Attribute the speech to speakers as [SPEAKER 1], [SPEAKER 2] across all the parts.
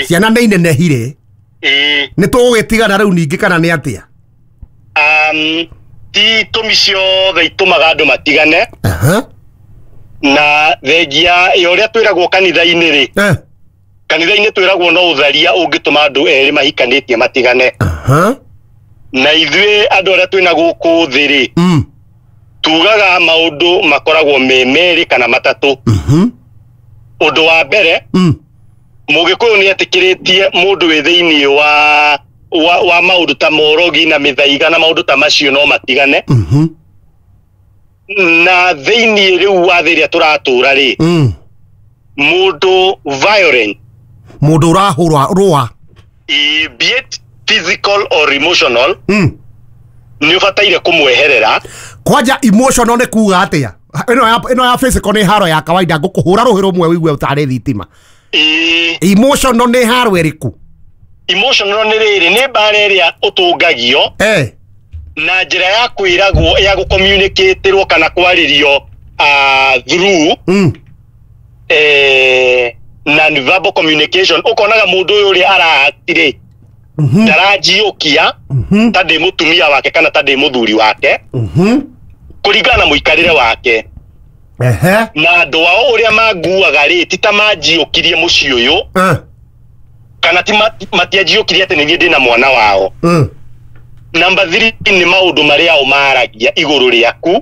[SPEAKER 1] Ciana nĩ inenehire. Nĩ tũgũgĩtigana rĩu ningĩ kana nĩ atĩa?
[SPEAKER 2] Ti itũmi ciothe itũmaga andũ matigane. Na thengia ya ũrĩa twĩragwo kanitha-inĩ rĩ, kanitha-inĩ twĩragwo no ũtharia ũngĩtũma andũ erĩ mahikanĩtie matigane. Na ithuĩ andũ arĩa twĩna gũkũ thĩ rĩ, tugaga maũndũ makoragwo me merĩ kana matatũ. Ũndũ wa mbere, Mũgĩkũyũ nĩ etĩkĩrĩtie mũndũ wĩ thĩinĩ wa maũndũ ta morogi na mĩthaiga na maũndũ ta macio no matigane. Na thĩinĩ rĩu wa thĩ ĩrĩa tũratũra rĩ, mũndũ violent,
[SPEAKER 1] mũndũ ũrahũra rũa,
[SPEAKER 2] be it physical or emotional, nĩ ũbataire kũmweherera.
[SPEAKER 1] Kwanja emotional nĩ kuga atĩa? Ĩno ya physical nĩ haro ya kawaida, ngũkũhũra rũhĩ rũmwe ũigue ũtarĩ thitima. Emotional nĩ haro ĩrĩkũ?
[SPEAKER 2] Emotional nĩ rĩrĩ, nĩ mbara ĩrĩa ũtũngagio na njĩra ya kwĩragwo, ya gũcommunicaterwo kana kwarĩrio through non-verbal communication. Ũkonaga mũndũ ũyũ ũrĩa aratirĩ ndaranjiũkia ta ndĩ mũtumia wake kana ta ndĩ mũthuri wake, kũringana na mũikarĩre wake. Na andũ ao ũrĩa manguaga rĩ, ti ta manjiũkirie mũciĩ ũyũ, kana ti matianjiũkirie atĩ nĩ niĩ ndĩna mwana wao. Number 3 nĩ maũndũ marĩa o maragia igũrũ rĩaku,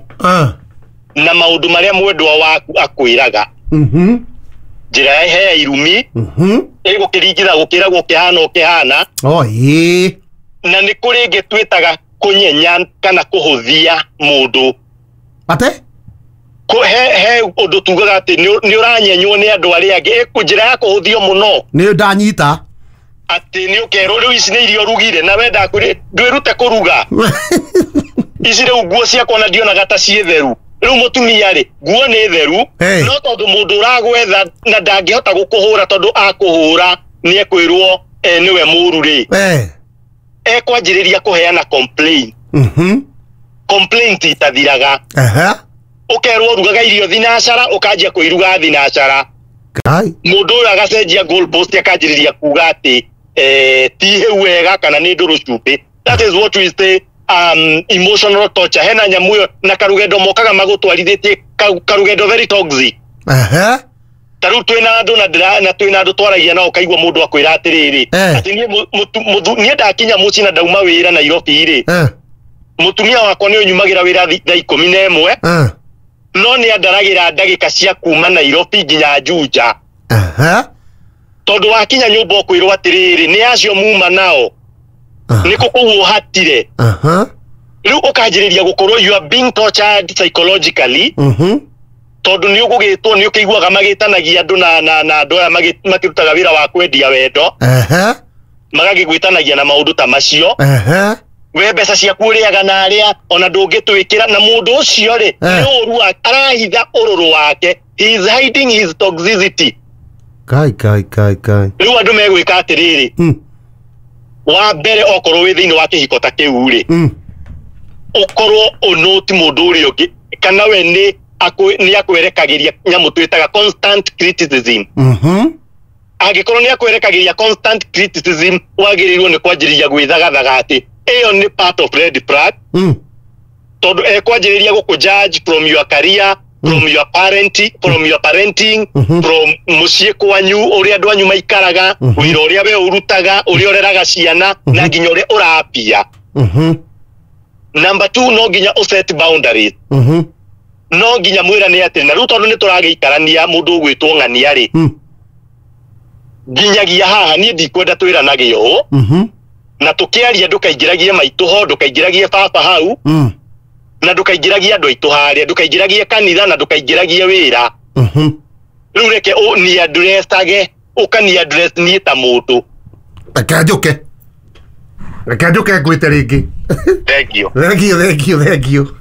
[SPEAKER 2] na maũndũ marĩa mwendwa waku akwĩraga. Njĩra ya hea irumi, ĩgũkĩringitha gũkĩragwo ũkĩhana ũkĩhana. Na nĩ kũrĩ ĩngĩ twĩtaga kũnyenya kana kũhũthia mũndũ.
[SPEAKER 1] Ate?
[SPEAKER 2] He ũndũ tugaga atĩ nĩ ũranyenywo nĩ andũ arĩa angĩ. Njĩra ya kũhũthio mũno.
[SPEAKER 1] Nĩ ndanyita.
[SPEAKER 2] Atĩ nĩ ũkerwo rĩu ici nĩ irio ũrugire na wenda ndwĩrute kũruga. Ici rĩu nguo ciakwa na ndionaga ta ciĩ theru. Rĩu mũtumia rĩ, nguo nĩ theru, no tondũ mũndũ ũragwetha na ndangĩhota gũkũhũra tondũ akũhũra nĩ ekwĩrwo nĩwe mũru rĩ. Ekwanjĩrĩria kũheana complaint. Complaint itathiraga. Ũkerwo ũrugaga irio thinacara, ũkanjia kũiruga thinacara. Mũndũ ũyũ agacenjia goal post akanjĩrĩria kuga atĩ ti hĩu wega kana nĩ ndũrũ cumbĩ. That is what we say emotional torture. Hena nyamũ ĩyo na karugendo mokaga magũtwarithĩtie karugendo very toxic. Ta rĩu twĩna andũ na twĩna andũ twaragia nao ũkaigua mũndũ akwĩra atĩrĩrĩ, atĩ niĩ ndakinya mũciĩ na ndauma wĩra Nairobi rĩ, mũtumia wakwa nĩ ũnyumagĩra wĩra thaa 11, no nĩ andaragĩra ndagĩka cia kuma Nairobi nginya Juja. Tondũ wakinya nyũmba ũkwĩrwo atĩrĩrĩ, nĩ acio muma nao, nĩ kũ kũu ũhatire. Rĩu ũkanjĩrĩria gũkorwo you are being tortured psychologically, tondũ nĩ ũgũgĩtwo, nĩ ũkĩiguaga magĩtanagia andũ na andũ aya makĩrutaga wĩra wa kwendia wendo, magagĩgwĩtanagia na maũndũ ta macio. We mbeca ciaku ũrĩaga na arĩa ona ndũngĩtwĩkĩra, na mũndũ ũcio rĩ, nĩ ũru wake, arahitha ũrũrũ wake. He is hiding his toxicity.
[SPEAKER 1] Kai kai kai kai.
[SPEAKER 2] Rĩu andũ megwĩka atĩrĩrĩ, wa mbere okorwo wĩ thĩinĩ wa kĩhiko ta kĩu rĩ, ũkorwo ũnũti mũndũ ũrĩa ũngĩ, kana we nĩ akwerekagĩria nyamũ twĩtaga constant criticism. Angĩkorwo nĩ akwerekagĩria constant criticism, wagĩrĩirwo nĩ kwanjĩrĩria gwĩthagathaga atĩ ĩyo nĩ part of red flag. Tondũ ekwanjĩrĩria gũkũ judge from your career, from your parent, from your parenting, from mũciĩ kwanyu, ũrĩa andũ anyu maikaraga, wĩra ũrĩa we ũrutaga, ũrĩa ũreraga ciana, na nginya ũrĩa ũrapia. Number 2, no nginya ũset boundaries. No nginya mwĩrane atĩ na rĩu tondũ nĩ tũragĩikarania mũndũ ũgwĩtwo ng'ania rĩ, nginyagia haha niĩ ndikwenda twĩranage ũũ, na tũkĩaria ndũkaingĩragie maitũ ho, ndũkaingĩragie baba hau, na ndũkaingĩragie andũ aitũ harĩa, ndũkaingĩragie kanitha, na ndũkaingĩragie wĩra. Rĩu reke ni addressage, ũkani address niĩ ta mũndũ.
[SPEAKER 1] Reke njũke. Reke njũke ngwĩte rĩngĩ.
[SPEAKER 2] Thank you.
[SPEAKER 1] Thank you, thank you, thank you.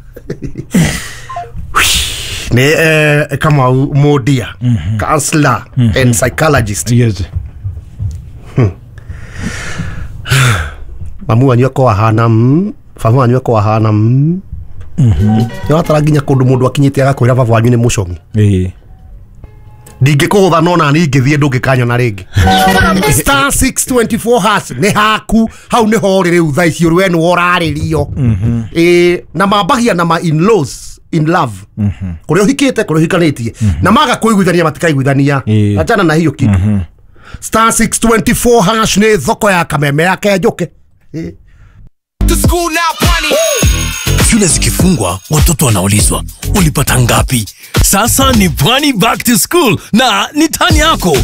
[SPEAKER 1] Nĩ Kamau Mundia, counselor and psychologist.
[SPEAKER 3] Yes.
[SPEAKER 1] Mamu wanyu akorwo ahana baba wanyu akorwo ahana nĩ ũratara nginya kũndũ mũndũ akinyĩte agakwĩra baba wanyu nĩ mũcong'i. Ndingĩkũgũtha no na niĩ ngĩthiĩ ndũngĩkanyona rĩngĩ. Star 624 hash nĩ haku hau nĩho ũrĩ rĩu thaa ici ũrĩ we nĩwe ũrarĩrio. Ĩĩ, na mambagia na ma in-laws in love. Kũrĩa ũhikĩte, kũrĩa ũhikanĩtie. Na maga kũiguithania matikaiguithania. Achana na hiyo kitu. Star 624 hash nĩ thoko ya kameme ya Kenjũke.
[SPEAKER 3] Shule zikifungwa, watoto wanaulizwa ulipata ngapi? Sasa ni Pwani Back to School na ni tani yako.